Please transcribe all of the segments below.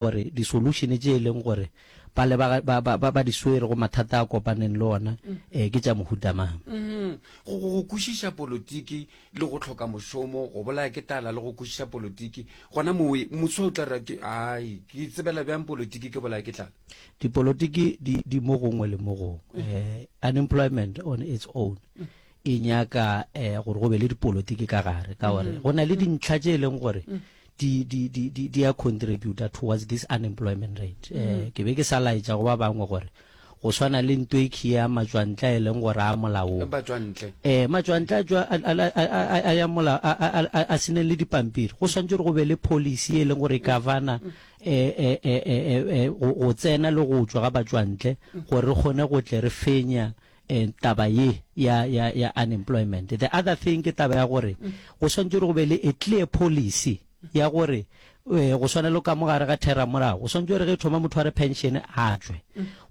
Gore di-solution tše e leng gore ba leba ba, ba, ba, ba di swere go mathata a kopaneng le ona eh, ke tša mohuta mang. Mm, go, go, go kwešiša politiki le go hloka mošomo, go bolaya ke tlala le go kwešiša politiki, gona mowe moswa o tla re ke, ai, ke tsebela bjang politiki ke bolaya ke tlala? Dipolotiki di, di mo gongwe le mo gongwe. Eh, unemployment on its own e nyaka eh, gore go be le dipolotiki ka gare, ka gore go na le dintlha tše e leng gore di, di, di, di, di a contributor towards this unemployment rate. Mm -hmm. Ke be ke sa laetša go ba bangwe gore go swana le nto e khia matšwantle a e leng gore a molaong. Matšwantle. Eh, matšwantle a tšwa a ya mola a seneng le dipampiri. Go swantse gore go be le policy e leng gore e governor eh eh eh eh go tsena le go tšwa ga batšwantle gore re kgone go tle re fenya eh, taba ye ya, ya, ya unemployment. The other thing ke taba ya gore go swantše gore go be le a clear policy ya gore eh, go swana le ka mo gare ga theramolao, go swantše gore ge thoma motho a re pension a tšwe.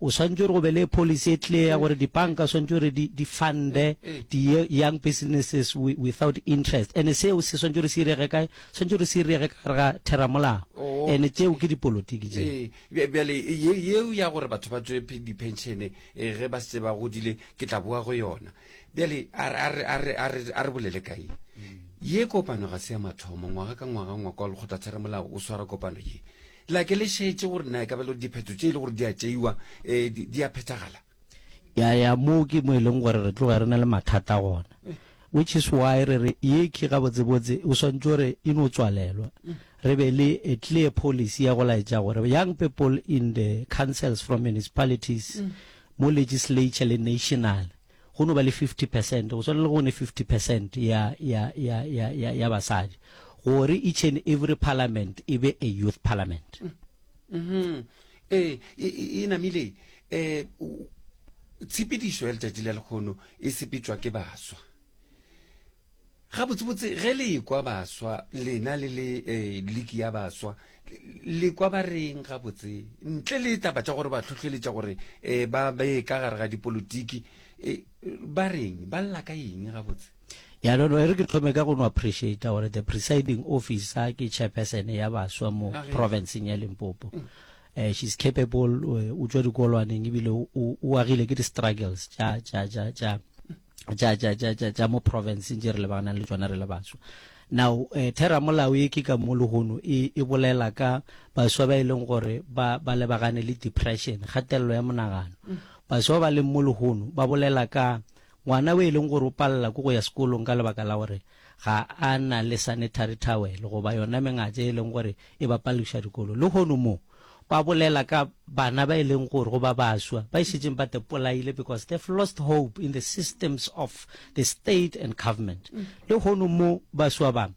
O swantše gore go be le policy e clear ya gore dibanka swantše gore di, di funde di young businesses without interest. And seo se swantše gore se irege kae? Swantše gore se irege ka gare ga theramolao. Oh. And tšeo ke dipolotiki tšeo. Ee, bjale yeo ya gore batho ba tšwe dipenšene e ge ba se ba godile ke tla boa go yona bjale a re bolele ka ye ye kopano ga se ya mathomo ngwaga ka ngwaga ngwako wa lekgotlatheremolao o swara kopano ye la ke le šetše gore na e ka ba le diphetho tše e le gore di a tšeiwa um di a phethagala ya ya moo ke mo e leng gore re tloga re na le mathata gona which is why re re ye ke gabotsebotse o swantse gore e no tswalelwa re be le a clear policy ya go laetša gore young people in the councils from municipalities mm. mo legislature le national go no ba le 50% go swana le go ne 50% ya ya ya ya ya ya basadi gore each and every parliament e be a youth parliament mm -hmm. eh e namile eh tshepedišo ya letšatši la lekgono e sepetšwa ke baswa Gabotsebotse ge le ekwa baswa, lena le le eh, liki ya baswa, le kwa ba reng gabotse? Ntle le taba tša gore ba hlohleletša gore eh, ba be ka gare ga dipolotiki, eh, ba reng? Ba lla ka eng gabotse? Ya no no e re ke thome ka go no appreciate gore the presiding officer ke chairperson ya baswa mo provinceng ya Limpopo. Mm. Eh, she's capable, eh, o tšwa dikolwaneng ebile o agile ke di-struggles tša tša tša tša tša tša tša tša tša mo provinceng tše re lebaganang le tšona re le baswa. Now eh, theramolao ye ke ka mo lehono e, e bolela ka baswa ba e leng gore ba, ba lebagane le depression, kgatelelo ya monagano. Baswa ba leng mo lehono ba bolela ka ngwana o e leng gore o palela ke go ya sekolong ka lebaka la gore ga a na le sanitary towel goba yona mengatse e leng gore e ba palediša dikolo. Lehono mo ba bolela ka bana ba e leng gore goba baswa ba e šetšeng ba te polaile because they've lost hope in the systems of the state and government. Lehono mo baswa ba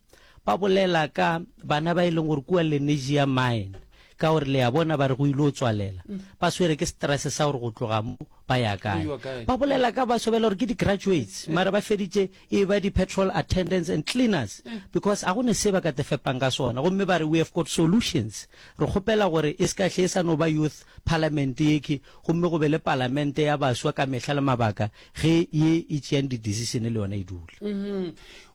ba bolela ka bana ba e leng gore kua Lenasia mine ka gore le a bona ba re go ile o tswalela ba swere ke stress sa gore go tloga mo ba ya kae. Ba bolela ka baswa ba e le gore ke di-graduates mara ba feditše e ba di-petrol attendants and cleaners because a go ne se ba ka te fepang ka sona gomme ba re we have got solutions re kgopela gore e se ka hle e sa no ba youth parliament yekhi gomme go be le palamente ya baswa ka mehla le mabaka ge ye e tšeang di-decision le yona e dula.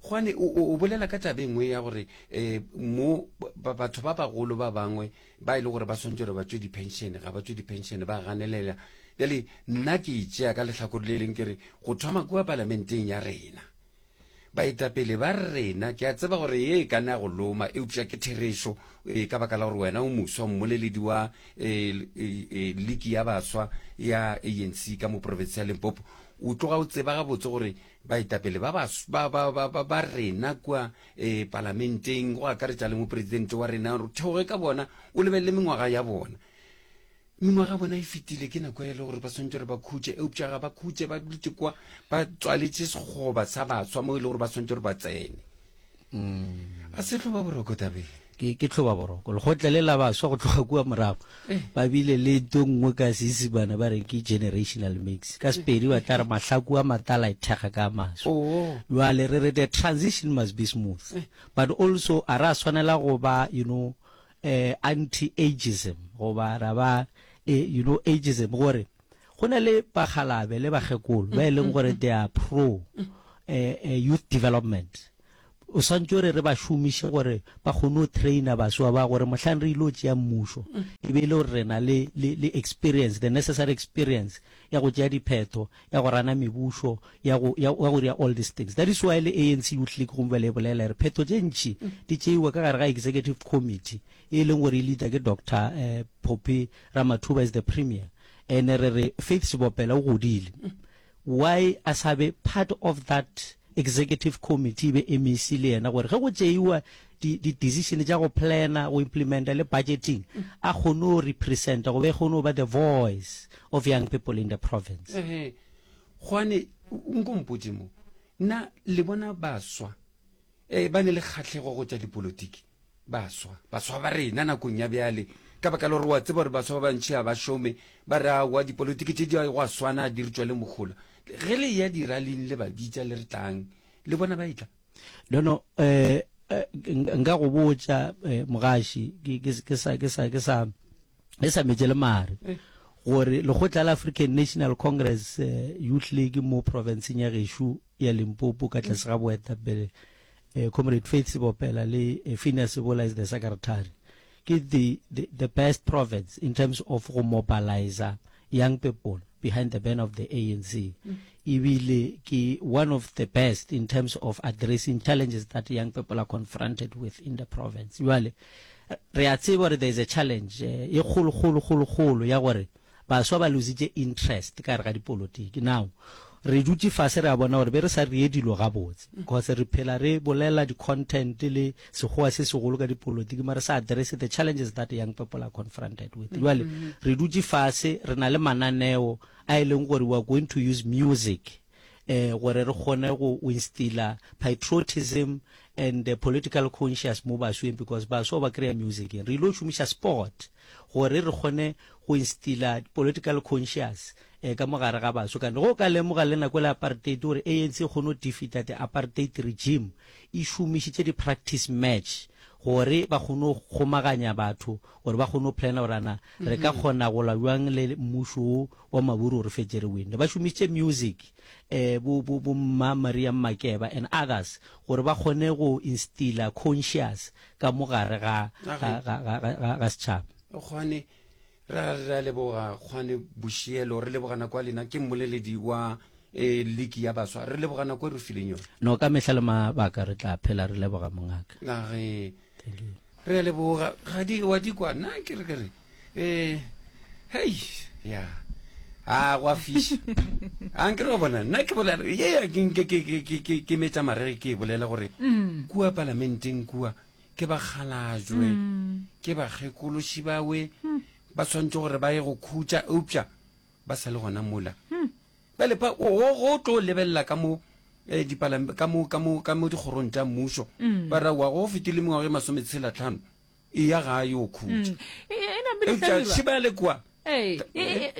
Gwane o, o bolela ka taba e nngwe ya gore um mo batho ba bagolo ba bangwe ba e le gore ba swantse gore ba tšwe di-pension ga ba tšwe di-pension ba ganelela Bjale nna ke e tšea ka lehlakore le leng ke re, go thoma kua palamenteng ya rena, baetapele ba rena, ke a tseba gore ye e ka na go loma, eupša ke therešo, e, ka baka la gore wena o moswa, mmoleledi wa e, e, e, liki ya baswa ya ANC ka mo profense ya Limpopo, o tloga o tseba gabotse gore baetapele ba, ba, ba, ba, ba, ba, ba rena kua e, palamenteng, go akaretša le mopresidente wa rena, re theoge ka bona, o lebelele mengwaga ya bona. Mengwaga bona e fetile, ke nako e le gore ba swanetše gore ba khutše, eupša ga ba khutše, ba dutše kwa ba tswaletše sekgoba sa baswa mo e le gore ba swanetše gore ba tsene. Mm. A se hloba boroko tabeng. Ke ke hloba boroko. Lekgotla le la baswa go tloga kua morago eh. ba bile le nto nngwe ka Seisemane ba re ke generational mix. Ka Sepedi ba tla re mahlaku a matala e thekga ka maswa. Oh. Jwale re re the transition must be smooth. Eh. But also a ra swanela go ba you know eh, anti-ageism goba ra ba eh, you know ageism gore go na le bakgalabe le bakgekolo ba e leng gore they are pro eh, eh, youth development. O swantše gore re ba šomiše gore ba kgone go trainer baswa ba gore mohlang re ilo tšea mmušo e be e le gore re na le, le, le experience, the necessary experience ya go tšea diphetho, ya go rana mebušo, ya go, ya, ya go dira all these things. That is why le ANC Youth League gomme bjale e bolela e re phetho tše ntši di tšeiwa ka gare ga executive committee e leng gore e leader ke Doctor eh, Phophi Ramathuba as the premier. Ene re re Faith Sebopela o godile. Why a sa be part of that executive committee e be MEC le yena gore ge go tšeiwa di, di decision tša go planner, go implementa le budgeting a kgone go representa go be kgone go ba the voice of young people in the province. Ehe, gwane nko mpotše mo, na le bona baswa eh, ba ne le kgahlego go tša dipolotiki? Baswa, baswa ba rena nakong ya bjale, ka baka la gore wa tseba gore baswa ba bantši ga ba šome, ba re aowa dipolotiki tše di go a swana di re tšwele mohola. Ge le eya diraling le ba bitša le re tlang, le bona ba etla? No, no, eh, nka go botša eh, mogaši ke, ke, ke sa, ke sa, ke sa, ke sa metše le mare eh. gore lekgotla la African National Congress eh, Youth League mo provinceng ya gešo ya Limpopo ka tlase ga boetapele eh, Comrade Faith Sebopela le eh, Phineas Sebola as the secretary ke the, the, the best province in terms of go mobilizer young people behind the banner of the ANC mm. ebile ke one of the best in terms of addressing challenges that young people are confronted with in the province jwale re a tseba gore there is a challenge eh, e kgolo kgolo kgolo kgolo ya gore Baswa ba lositše interest ka gare ga dipolotiki. Now, re dutše fase re a bona gore be re sa reye dilo gabotse because re phela re bolela di-content le sekgowa se segolo ka dipolotiki mara sa address the challenges that young people are confronted with. Jwale re dutše fase re na le mananeo a e leng gore we are going to use music eh gore re kgone go instilla patriotism and the political conscious mo basweng because baswa ba kry-a music re ile go šomiša sport gore re kgone go instilla political conscious eh, ka mo gare ga baswa kane go ka lemoga le nako le apartheid gore ANC e kgone go defeata the apartheid regime e šomišitše di-practice match gore ba kgone go kgomaganya batho gore ba kgone go plana gore ana re ka kgona go lwa bjang le mmušo wo wa maburu gore fetše re winne ba šomišitše music eh bo bo bo mma Maria Makeba and others gore ba kgone go instilla conscious ka mo gare ga ga ga ga ga setšhaba. Kgwane ra ra leboga Kgwane Bošielo re leboga nako ya lena ke mmoleledi wa eh, liki ya baswa re leboga nako e re fileng yona. No ka mehla le mabaka re tla phela re leboga mongaka. Na ge re a leboga ga di wa di kwa nna ke re ke re eh hei ya a gwa fiša a nke re bona nna ke bolela ye ya ke nke ke ke ke ke ke metša marege ke e bolela gore mm. kua palamenteng kua ke ba kgalajwe mm. ke bakgekološi bawe mm. ba tshwanetse gore ba ye go khutša eupša ba sa le gona mola bjale pa go go tlo lebelela ka mo eh, dipalam ka mo ka mo ka mo dikgorong tša mmušo ba ra wa go fetile mengwaga e masometshela tlhano e ya gae o khutša mm. e, e, e eupša šiba le kwa Ee,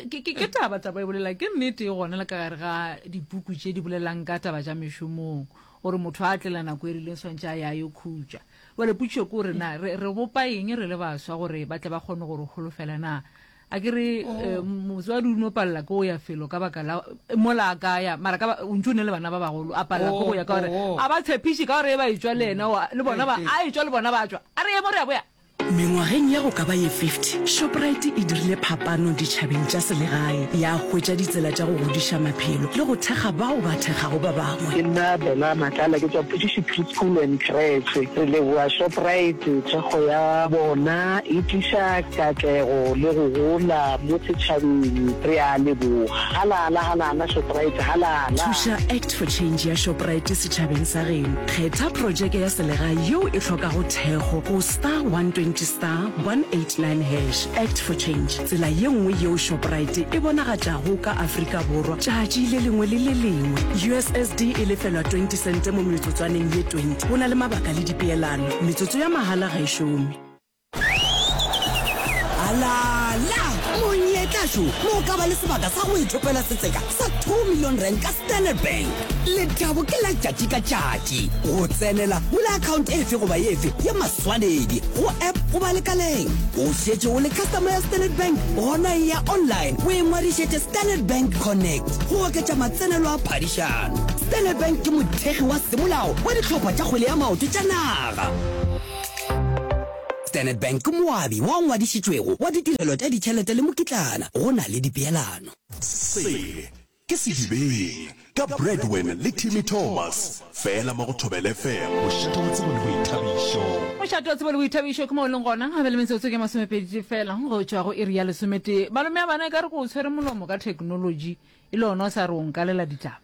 ke taba taba e bolela ke nnete e gona le ka gare ga dipuku tše di bolelang ka taba tša mešomong gore motho a tlela nako e rileng swantše a ya yo khutša jale potšišo ke gore na re bopa eng re le baswa gore ba tle ba kgone gore holofela na A ke re oh. motswadi o no palela ke go ya felo ka baka la mola a ka ya mara ka o ntse o ne le bana ba bagolo a palela ke go ya ka gore oh, oh. a ba tshepiše ka gore e ba etswa le ena le bona ba a etswa le bona ba tswa a re ye mo re ya boya Mengwageng ya go ka ba ye 50, Shoprite e dirile phapano ditšhabeng tša selegae, ya hwetša ditsela tša go godiša maphelo le go thekga bao ba thekgago ba bangwe. Ke nna Bella Matlala, ke tšwa Phudiši Preschool and Creche. Re leboga Shoprite, thekgo ya bona e tliša Katlego le go gola mo setšhabeng. Re a leboga. Halala, halala, Shoprite, halala! Thuša Act for Change ya Shoprite setšhabeng sa geno. Kgetha projeke ya selegae yeo e hlokago thekgo go star 120 star 189 hash. Act for Change, tsela ye nngwe yeo Shoprite e bonagatšago ka Afrika Borwa tšatši le lengwe le le lengwe. USSD e lefelwa 20 sente mo metsotswaneng ye 20. Go na le mabaka le dipeelano. Metsotso ya mahala ga e šome. Alala! Monyetla šo mo o ka ba le sebaka sa go ithopela setseka sa 2 million rand ka Standard Bank. Lethabo ke la tšatši ka tšatši. Go tsenela, bula account efe goba efe ya maswanedi go app goba lekaleng. O šetše o le customer ya Standard Bank? Gona eya online o ingwadišetše Standard Bank Connect go oketša matsenelo a phadišano. Standard Bank ke mothekgi wa semolao wa dihlopha tša kgwele ya maoto tša naga. Standard Bank ke moabi wa ngwadišitšwego wa ditirelo tša ditšhelete le mokitlana go na le dipeelano. Se ke Sedibeng ka Bradwin le Timmy Thomas, fela mo go Thobela FM, mošate wa tsebo le boithabišo. Mošate wa tsebo le boithabišo ke mo o leng gona. Gabe le metsotso ke masomepedi fela go tšwa go iri ya lesometee. Malome a bana e ka re ko o tshwere molomo ka theknolotši e le ona o sa re o nkalela ditaba.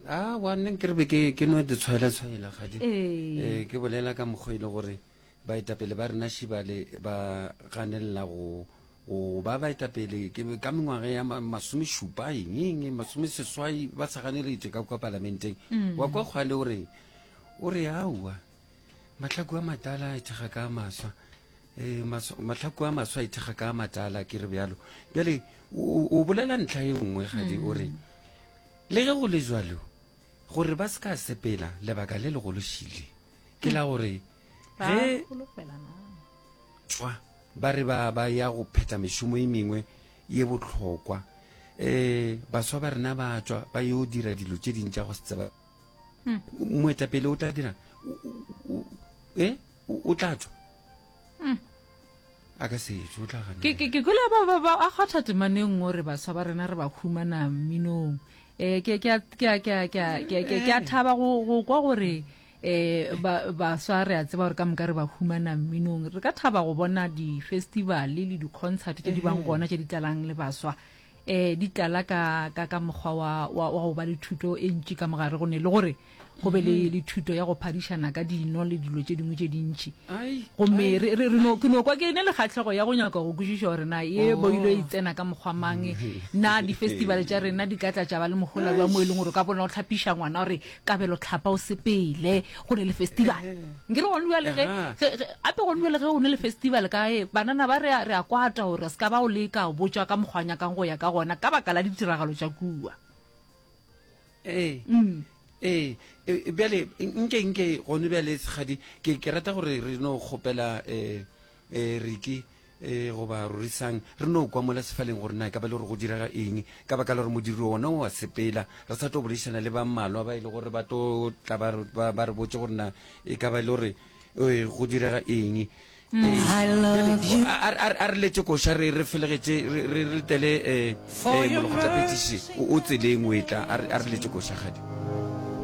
Aowa, nna nke re be ke ke no di tshwaela-tshwaela gadi. Ee. Ke bolela ka mokgwa e le gore baetapele ba rena šibale ba ganelela go go ba baetapele ke ka mengwaga ya masomešupa eng eng masomeseswai ba sa ganeletše ka kwa palamenteng. Mm. Wa kwa kgwale o reng? O re aowa mahlaku a matala a ithekga ka a maswa. E, mahlaku a maswa a ithekga ka a matala ke re bjalo. Bjale o bolela ntlha e nngwe gadi o re mm. Le ge go le bjalo, gore ba se ka sepela, lebaka le legolo šile ke la gore ge tšwa ba re ba ba ya go phetha mešomo e mengwe ye bohlokwa um baswa ba rena ba tšwa ba yo dira dilo tše ding tša go se tseba hmm. moetapele o tla dira e o tla tšwa hmm. A ka se tšwe, o tla gana. Ke, ke, ke kwele ba, ba, ba a kgwatha temana e nngwe gore baswa ba rena re ba humana mminong. Eh, ke, ke a, ke a, ke a, ke a, ke, ke, ke a thaba go, go kwa gore eh ba, baswa re a tseba gore ka moka re ba humana mminong. Re ka thaba go bona di-festival le di-concert tše di bang gona tše di tlalang le baswa. Eh, di tlala ka, ka, ka mokgwa wa, wa, wa go ba le thuto e ntši ka mogare go ne le gore go be le, le thuto ya go phadišana ka dino le dilo tše dingwe tše dintši. Gomme re, re, re no, ke no kwa ke ne le kgahlego ya go nyaka go kwešiša gore na ye oh. boilo e tsena ka mokgwa mang, na di-festival tša rena di ka tla tša ba le mohola bja mo e leng gore o ka bona o hlapiša ngwana gore kabelo tlhapa o sepele go ne le festival. Nke re gone bjale ge, ge, ge, ape gone bjale ge go ne le festival kae, banana ba re a, re a kwata gore se ka ba o leka o botšwa ka mokgwa nyakang go ya ka gona ka baka la ditiragalo tša kua. Ee. Mm. Ee, e, bjale nke nke gone bjale segadi ke ke rata gore re no kgopela eh eh Riki eh goba Rorisang re no kwa mola sefaleng gore na e ka ba le gore go direga eng ka baka la gore modiri ona o a sepela re sa tlo boledišana le ba mmalwa ba e le gore ba tlo tla ba ba re botse gore na e ka ba e le gore eh, go direga eng a re letse koša re re felegetše re letele um molekgotlaphethiši o tseleng o etla a re letse koša gadi.